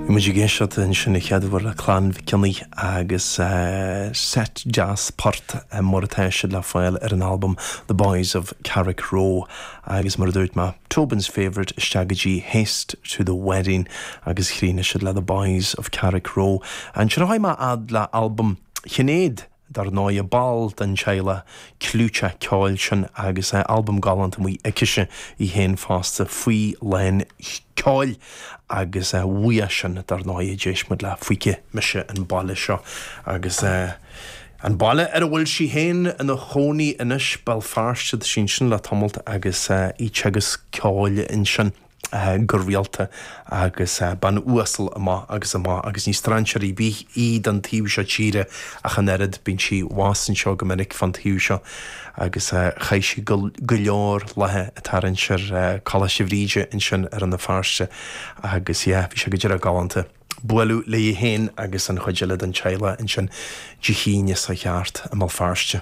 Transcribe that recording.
Bhí muid ag éisteacht ansin an chéad uair le Clann Mhic Cionnaith agus seit deas port mar atá siad le fáil ar an albam The Boys of Carrickroe agus mar a dúirt mé, Tobin's Favourite isteach go dtí Haste to the Wedding agus chríochnaigh siad le The Boys of Carrickroe. Ansin a chuaigh mé fhad le albam Shinéad dar ndóigh, ball den teaghlach clúiteach ceoil sin agus albam galánta amuigh aicise í féin fosta faoi lán ceoil agus uaidh sin dar ndóigh d'éist muid le Feicfidh Mise an Baile Seo agus an baile ar a bhfuil sí féin ina chónaí anois, Béal Feirste, tá sí ansin le tamalt agus í ag teagasc ceoil ansin. go rialta agus bean uasal amach agus amach agus ní strainséir ar bith í don taobh seo tíre ach an oiread, bíonn sí abhus anseo go minic fán taobh seo agus chaith sí go leor laetha ag tarraingt ar Coláiste Bhríde ansin i Rann na Feirste agus yeah bhí sé go díreach galánta bualadh léi féin agus an chuid eile den teaghlach ansin Dé hAoine seo thart i mBéal Feirste.